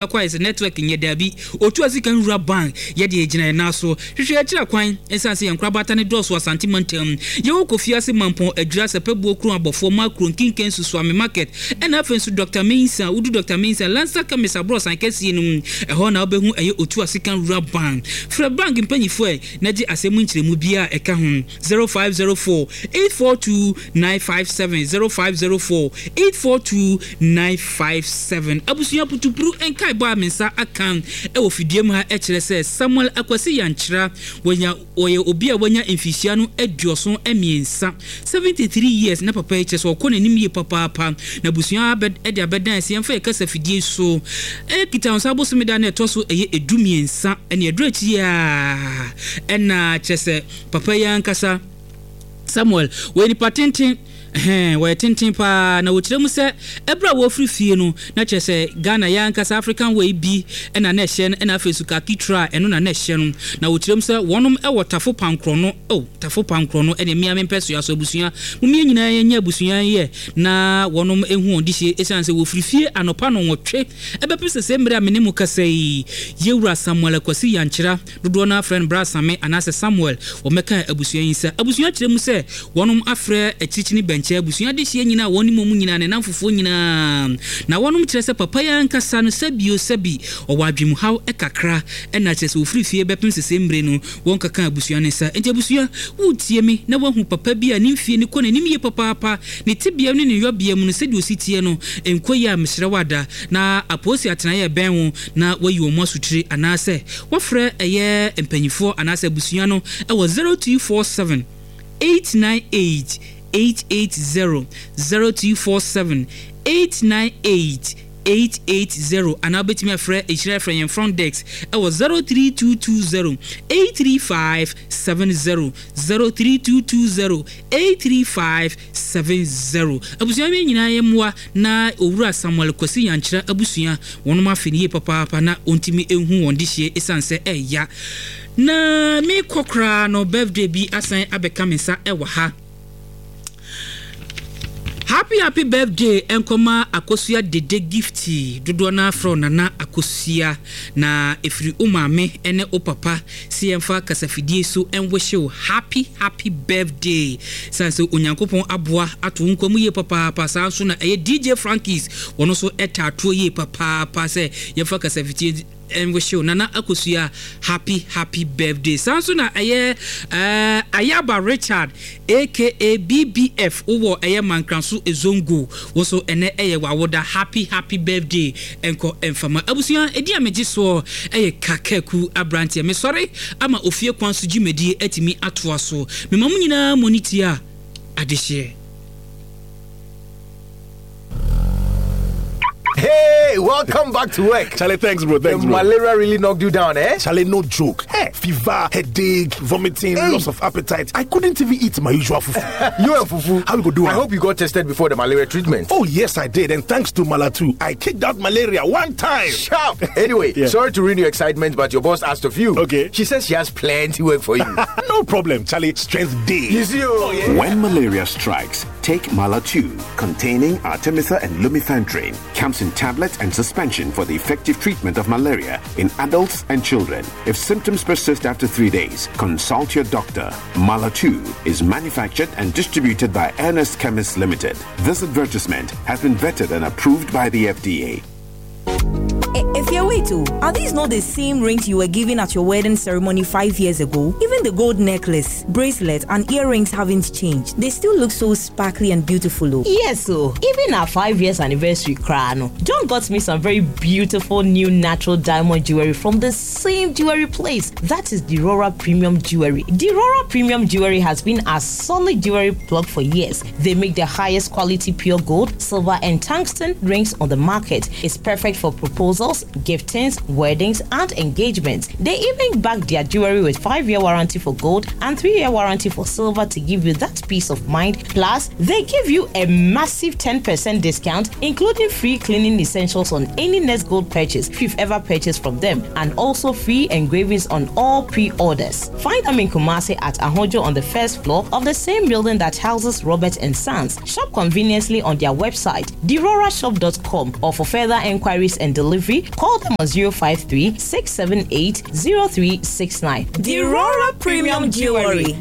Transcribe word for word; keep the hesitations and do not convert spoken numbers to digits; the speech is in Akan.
Akɔ ayɛ sɛ network nyɛ daabi. Otu Asika Nwura Bank yɛde egyina yɛn nan so hwehwɛ akyira kwan. Ɛsiane sɛ yɛn nkorabata ne dɔɔso Asante mantam, yɛwɔ Kofi Ase, Mampɔn, Adwira, Sɛpɛbuo, Kurom Abɔfoɔ, Makuro, Nkinkan, Susuame Market, ɛna afei nso Doctor Mensa. Wodu Doctor Mensa, Lansa Chemist aborɔsan kɛseɛ no mu, ɛhɔ na wobɛhu ɛyɛ Otu Asika Nwura Bank. Frɛ bank mpanyinfoɔ ɛ na gye asɛm mu nkyerɛmu biara a ɛka ho, zero five zero four eight four two nine five seven, zero five zero four eight four two nine five seven. Abusua, putupuru nkaebɔ a me nsa aka ɛwɔ fidie mu ha ɛkyerɛ sɛ Samuel Akwasi Yankyera wɔnya wɔyɛ obi a wanya mfihyia no aduɔson mmiɛnsa, seventy-three years, na papa yi kyerɛ sɛ ɔkɔ n'anim yie papaapa. Na abusua ɛde abɛdan sɛ yɛmfa yɛ kasa fidie so ɛkita nsa abosome da na ɛtɔ so ɛyɛ edu mmiɛnsa ɛne ɛduru akyi a ɛna kyerɛ sɛ papa yi ankasa Samuel wɔyɛ nipa tenten, ɛhɛn, wɔyɛ tenten paa. Na wɔkyerɛ mu sɛ ɛberɛ a wɔfiri fie no, na kyerɛ sɛ Ghana yɛ ankasa African wear bi ɛna na ɛhyɛ no, ɛna afei so khaki trouser, ɛno na na ɛhyɛ no. Na wɔkyerɛ mu sɛ wɔnom ɛwɔ Tafo Pankorɔ no. Oh, Tafo Pankorɔ no ɛne mmea mempɛ soa so. Abusua, mumie nyinaa yɛnyɛ abusua yɛ na wɔnom ehu wɔn de hyie, ɛsiane sɛ wɔfiri fie anɔpa no nwɔtwe ɛbɛpem sɛ sɛ mmerɛ a mene mu kasa yi, yɛwura Samuel Akwasi Yankyera, dodoɔ no afrɛ no Bra Same anaasɛ Samuel, wɔmɛka abusua yi nsa. Abusua kyerɛ mu sɛ wɔnom afrɛ akyirikyini bɛnkyɛ abusua de hyia nyinaa, wɔn ne mu nyinaa, ne nam fufuo nyinaa. Na wɔnom kyerɛ sɛ papa yi ankasa no, sɛbio sɛbi, ɔwɔ adwemuhaw kakra, ɛna kyerɛ sɛ wɔfiri fie bɛpem sɛ sɛ mmerɛ no wɔn kaka abusua no nsa. Nti abusua, wotie me na woahu papa bi a ne mfie ne kɔ n'anim yie papaapa, ne tebea ne ne yɔbea mu no, sɛdeɛ osi teɛ no nkɔ yi a, mesrɛ wo ada na apolisi atenaeɛ ɛbɛn wo na wayi wɔn asotire anaasɛ wɔfrɛ ɛyɛ mpanyinfoɔ anaasɛ abusua no ɛwɔ zero two four seven eight nine eight eight eight zero, zero two four seven eight nine eight eight eight zero, anaa wobɛtumi afrɛ ɛhyira frɛ yɛn front desk ɛwɔ zero three two two zero eight three five seven zero, zero three two two zero eight three five seven zero. Abusua mi nyinaa yɛ mmoa na Owura Samuel Kwasi Yankyerɛ abusua wɔnom afe no yie papaapa na ɔntumi ehu wɔn de hyie, ɛsiane sɛ ɛɛya. Na mekɔ koraa no, birthday bi asan abɛka me nsa ɛwɔ ha. Happy happy birthday nkɔma Akosua Dede Gift, dodoɔ no afrɛ Nana Akosua, na ɛfiri wo maame ne wo papa sɛ yɛmfa kasafidie so nwish wo happy happy birthday, sane sɛ Onyankopɔn aboa ato wo nkwa mu yie papaapa. Saa nso na ɛyɛ D J Frankies, wɔno nso ɛtaatoɔ yie papaapa sɛ yɛmfa kasafidie nwish wo Nana Akosua happy happy birthday. Saa nso na ɛyɛ ɛɛ Ayaba Richard A K A B B F, wowɔ ɛyɛ Mankranso Ezongo, wo nso ɛnɛ ɛyɛ wawoda. Happy happy birthday ɛnkɔ ɛmfama abusua. Ɛdi a megye soɔ ɛyɛ Kakaku aberanteɛ. Mesɔre ama ofie kwan so dwumadie atumi atoa so. Mema mo nyinaa mo ne tie a adehyeɛ. Hey, welcome back to work. Charlie, thanks, bro. Thanks, The bro. malaria really knocked you down, eh? Charlie, no joke. Hey, fever, headache, vomiting, Hey. Loss of appetite. I couldn't even eat my usual fufu. You and fufu. How we go do I am? Hope you got tested before the malaria treatment. Oh, yes, I did. And thanks to Malatu, I kicked out malaria one time. Sharp. Anyway, Yeah. sorry to ruin your excitement, but your boss asked of you. Okay. She says she has plenty work for you. No problem, Charlie. Strength dey. You see, oh, yeah. When malaria strikes, take Malatu, containing artemether and lumefantrine. Comes in tablet and suspension for the effective treatment of malaria in adults and children. If symptoms persist after three days, consult your doctor. Malatu is manufactured and distributed by Ernest Chemists Limited. This advertisement has been vetted and approved by the F D A. If you wait, oh, are these not the same rings you were given at your wedding ceremony five years ago? Even the gold necklace, bracelet, and earrings haven't changed. They still look so sparkly and beautiful. Oh. Yes, so even our five years anniversary koraa no, John got me some very beautiful new natural diamond jewelry from the same jewelry place. That is Dirora Premium Jewelry. Dirora Premium Jewelry has been our solid jewelry plug for years. They make the highest quality pure gold, silver, and tungsten rings on the market. It's perfect for proposals, gifting. giftings, weddings, and engagements. They even back their jewelry with five year warranty for gold and three year warranty for silver to give you that peace of mind. Plus, they give you a massive ten percent discount, including free cleaning essentials on any next gold purchase if you've ever purchased from them, and also free engravings on all pre orders. Find them in Kumasi at Ahojo on the first floor of the same building that houses Robert and Sons. Shop conveniently on their website, dirorashop dot com, or for further enquiries and delivery, call them on zero five three, six seven eight, zero three six nine. Dirora Premium Jewelry.